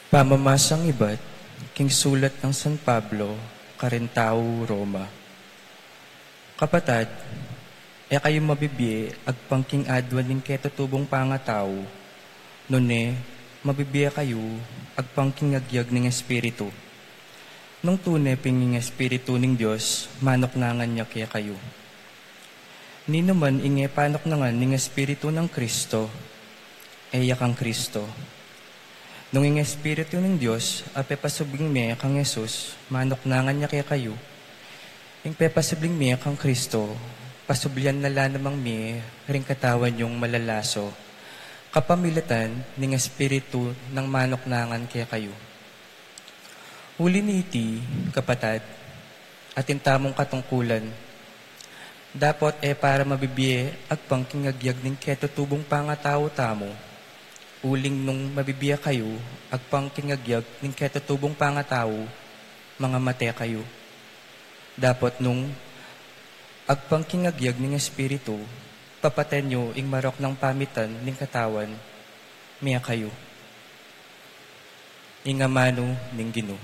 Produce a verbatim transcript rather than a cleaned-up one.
Pamamasang ibat king sulat nang San Pablo karing tau Roma. Kapatad, e kayu mabibie agpang king aduan ning ketutubung pangatau, nune mabibie kayu agpang king agyag ning Espiritu. Nung tune pin ing Espiritu ning Dios manuknangan ya kekayu. Ninuman ing e panuknangan ning Espiritu nang Kristo, e ya kang Kristo. Nung ing Espiritu ning Dios a pepasubling mie kang Jesus manuknangan ya kekayu, ing pepasubling mie kang Kristo, pasublian na la namang mie ring katawan yung malalaso, kapamilatan ning Espiritu nang manuknangan kekayu. Uli niti, kapatad, atin tamung katungkulan. Dapot e para mabibie agpang king agyag ning ketutubung pangatau tamu, uling nung mabibie kayu agpang king agyag ning ketutubung pangatau, mangamate kayu. Dapot nung agpang king agyag ning Espiritu, papaten yu ing marok nang pamitan ning katawan, mie kayu. Ing amanu ning Ginu.